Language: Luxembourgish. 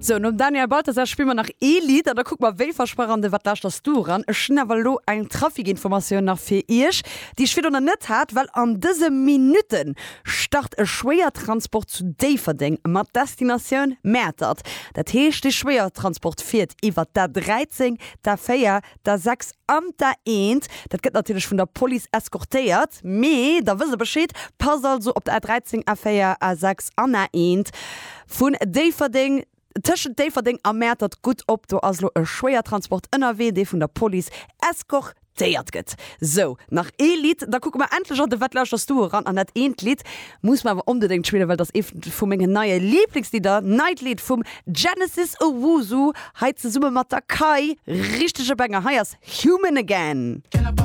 Sou, nom Daniel Balthasar spille mer nach ee Lidd an da kucke mer wéi versprach an de Wat lauschters du eran. Ech hunn awer elo eng Trafikinformatioun nach fir iech, déi ech virdrun nach net hat, well an dëse Minutte start e Schwéiertransport zu Déifferdeng mat Destinatioun Mäertert. Dat heescht, dee Schwéiertransport fiert iwwer d'A 13, d'A 4, d'A 6 an d'A 1. Dat gëtt natierlech vun der Police eskortéiert, mee da wësst der Bescheed. Passt also op d'A 13, A 4, A 6 an A 1 vun Déifferdeng, tëschent Déifferdeng a Mäertert gutt op. Do ass elo e Schwéiertransport ënnerwee, dee vun der Police eskortéiert gëtt. Sou, nach ee Lidd, da kucke mer endlech an de Wat lauschters du eran. An dat eent Lidd muss mer awer onbedéngt spillen, well dat ass eent vu mengen neie Liblingslidder, Neit Lidd vum Genesis Owusu, hei zesumme mat der Kai. Richtege Banger, hei ass Human Again.